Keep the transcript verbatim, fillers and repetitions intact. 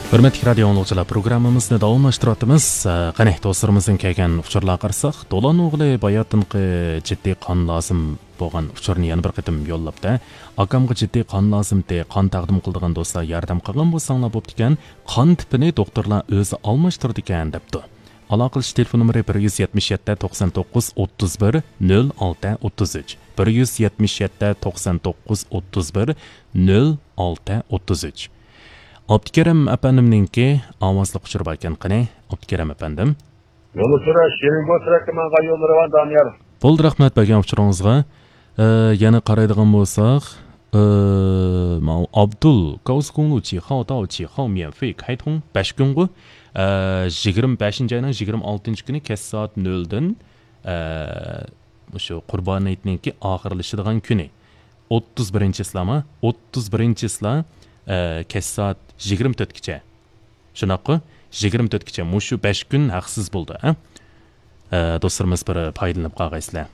ھۆرمەتلىك رادىيو ئاڭلىغۇچىلار، پروگراممىمىزنى داۋاملاشتۇرۇۋاتىمىز. ئە، قېنى، دوستلىرىمىزدىن كەلگەن ئۇچۇرلارغا قارىساق، دولان ئوغلى باياتىنقى جىددىي قان لازىم بولغان ئۇچۇرنى يەنە بىر قېتىم يوللاپتۇ. ئاكامغا جىددىي قان لازىمتى، قان تەقدىم قىلىدىغان دوستلار ياردەم قىلغان بولساڭلار بوپتىكەن، قان تىپىنى دوختۇرلار ئۆزى ئالماشتۇرىدىكەن، دەپتۇ. ئالاقىلىشىش تېلېفون نومۇرى بىر يۈز يەتمىش يەتتە، توقسان توققۇز، ئوتتۇز بىر، نۆل ئالتە، ئوتتۇز ئۈچ. بىر يۈز يەتمىش يەتتە، توقسان توققۇز، ئوتتۇز بىر، نۆل ئالتە، ئوتتۇز ئۈچ. ئابدۇكېرىم ئەپەندىمنىڭكى ئاۋازلىق ئۇچۇرى بار ئىكەن، قېنى، ئابدۇكېرىم ئەپەندىم. يولدىشىڭىز شېرىن بولسا، ماڭا يوللىرى بار، دانىيار. بولدى، رەھمەت بەرگەن ئۇچۇرىڭىزغا. ئە، يەنە قارايدىغان بولساق، ئە، ماۋۇ ئابدۇل، كاۋسكۇڭلۇچى، خاۋتاۋچى، خاۋميەنفېي، كايتۇڭ، بەش كۈنغۇ. ئە، يىگىرمە بەشىنچى ئاينىڭ يىگىرمە ئالتىنچى كۈنى كەچ سائەت نۆلدىن، ئە، مۇشۇ قۇربان ھېيتنىڭكى ئاخىرلىشىدىغان كۈنى. ئوتتۇز بىرىنچى چىسلامۇ؟ ئوتتۇز بىرىنچى چىسلا، ئە، كەچ سائەت يىگىرمە تۆتكىچە. شۇنداققۇ؟ يىگىرمە تۆتكىچە مۇشۇ بەش كۈن ھەقسىز بولدى، ھە؟ ئە، دوستلىرىمىز بىر پايدىلىنىپ قالغايسىلەر.